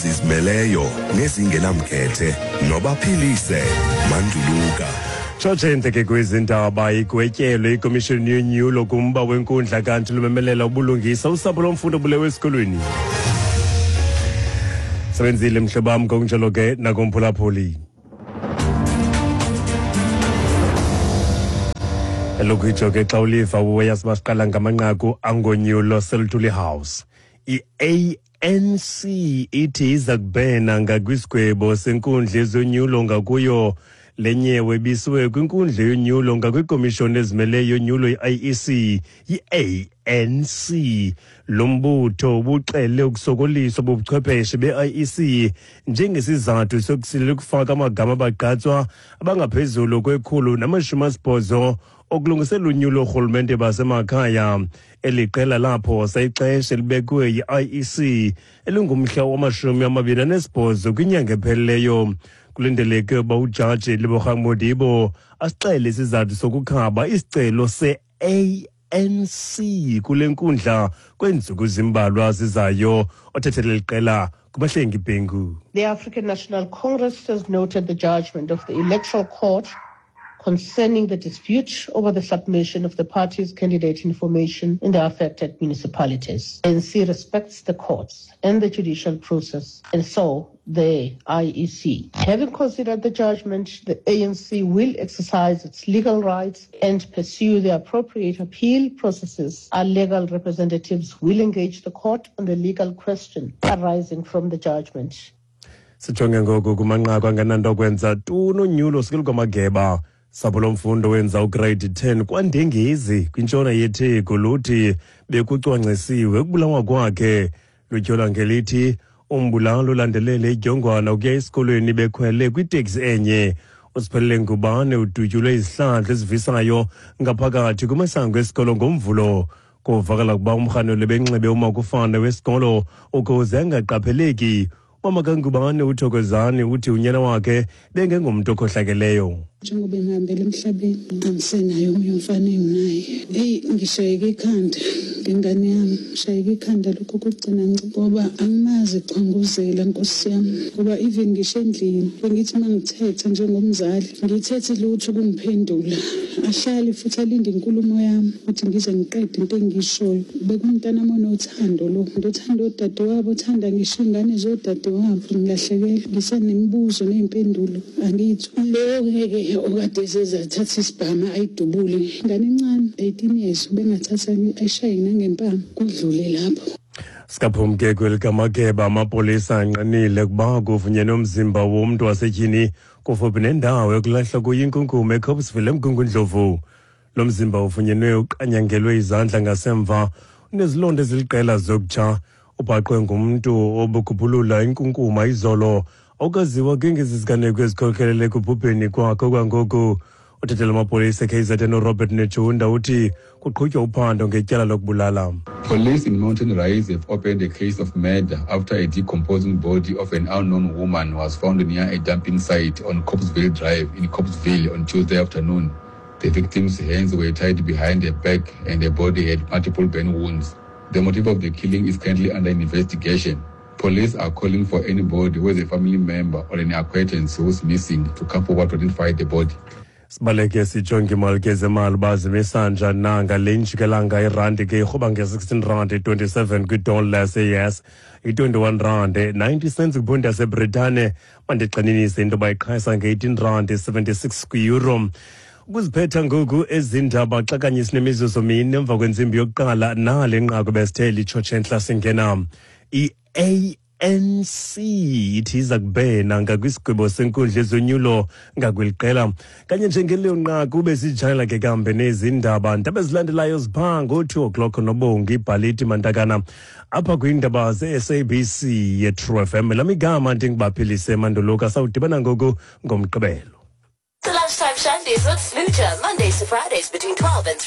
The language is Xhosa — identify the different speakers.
Speaker 1: Zizimeleyo nezingenamkhethe nobaphilise Manduluka.
Speaker 2: Tshotshe entle kwezi ndaba, igwetyelo ikomishoni yonyulo kumba wenkundla kanti lumemelela ubulungisa usapho lomfundi obulewe esikolweni. Sebenzile mhlobo wam, ngokunjalo ke nakumphulaphuli. Elokhu ke xa uliva uyazi basiqala ngamanqaku angonyulo seLuthuli House. I-ANC ithi iza kubhena ngakwisigwebo senkundla ezonyulo ngakuyo. Le nyewe ibisiwe kwinkundla yonyulo ngakwikomishoni ezimeleyo yonyulo i-IEC yi-ANC. Lo mbutho ubuxele ukusokoliswa bobuchwepheshe be-IEC njengesizathu sokusilela ukufaka amagama abagqatswa abangaphezulu kwe-180 okulungisela unyulo oorhulumente basemakhaya. Eli qela laphosa ixesha elibekwe yi-IEC elingumhla wama-28 kwinyanga epheleleyo. Kulindeleke ukuba ujaji Lebogang Modibo asixele isizathu sokukhaba isicelo se-ANC kule nkundla kweentsuku zimbalwa zizayo. Othethele liqela kuBahlengi Bhengu.
Speaker 3: The African National Congress has noted the judgment of the Electoral Court concerning the dispute over the submission of the party's candidate information in the affected municipalities. ANC respects the courts and the judicial process, and so the IEC. Having considered the judgment, the ANC will exercise its legal rights and pursue the appropriate appeal processes. Our legal representatives will engage the court on the legal question arising from the judgment.
Speaker 2: Sijonge ngoku kumanqaku angenanto kwenza tu nonyulo sikelukамageba. Sapho lomfundo wenza ugrade 10 kwaNdengezi kwintshona yeTheku luthi bekucwangcisiwe ukubulawa kwakhe. Lutyhola ngelithi umbulali ulandelele idyongwana ukuya esikolweni bekhwele kwiteksi enye. Usiphelele Ngubane udutyulwe izihlandlo ezivisayo ngaphakathi kumasango esikolo ngoMvulo. Kuvakala ukuba umrhanelwa benxibe umakufana wesikolo ukuze angaqapheleki. Umama kaNgubane uThokozani uthi unyana wakhe bengengomntu okhohlakeleyo.
Speaker 4: Njengoba engihambela emhlabeni, angisenayo omunye umfana enginaye. Eyi, ngishayeke ikhanda ngengane yami, ngishayeke ikhanda lokhu kokugcina, ngoba angimazi echwanguzela, nkosi yami, ngoba even ngisho endlini bengithi uma ngithetha njengomzali, ngithethe lutho ukungiphendula, ahlale futhi alinde inkulumo yami ukuthi ngize ngiqede into engiyishoyo. Bekumntanami onothando lo, othanda odadewabo, othanda ngisho iy'ngane zodadewabo. Ngilahlekelwe, ngisanemibuzo ney'mpendulo angiyitholi. Lo ngeke okade sezathatha isibhamu ayidubule ingane encane, 18 years, ubengathatha ayishaye nangempama kudlule lapho.
Speaker 2: Sikaphumke kwelikamageba, amapolisa anqinile ukuba kufunyenwe umzimba womntu wasetyhini kufuphi nendawo yokulahlwa kuyo inkunkuma eCopesville eMgungundlovu. Lo mzimba ufunyenwe uqanyangelwe izandla ngasemva, unezilonda eziliqela zokutsha. Ubhaqwe ngumntu obukhuphulula inkunkuma izolo. Awukaziwa ke ngezi ziganeko ezikhokelele ekubhubheni kwakhe kwangoku. Uthethela amapolisa eKZN uRobert Netshiunda uthi kuqhutywa uphando ngetyala lokubulala.
Speaker 5: Police in Mountain Rise have opened a case of murder after a decomposing body of an unknown woman was found near a dumping site on Copesville Drive in Copesville on Tuesday afternoon. The victim's hands were tied behind her back and her body had multiple burn wounds. The motive of the killing is currently under investigation. Police are calling for anybody who is a family member or an acquaintance who is missing to come forward to identify the body.
Speaker 2: Sibaleke sijonge imali ke zemali uba zimisa njani na ngale njikelanga. Irandi ke irhuba nge-16 rand 27 kwidola yase-US, i-21 rand 90 cents kwiphondi yaseBritane. Mandigxininise into yoba iqhayisa nge-18 rand 76 kwi-euro. Ukuziphetha ngoku ezi ndaba xa kanye sinemizuzu mine emva kwentsimbi yokuqala, nale nqaku besithe litshotshe entla singena. I-ANC ithi iza kubhena ngakwisigwebo senkundla ezonyulo ngakweli qela. Kanye njengeleyo nqaku besijayela ke kambe nezi ndaba. Ndaba ezilandelayo ziphaa ngo-2 o'clock noBongi Ibhaliti Mantakana apha kwiindaba ze-SABC ye-True FM. Lam igama ndinguBaphilise Manduluka. Sawudibana ngoku ngoMgqibelo.
Speaker 6: The Lunchtime Shandies with Smoocher, Mondays to Fridays between 12 and 3.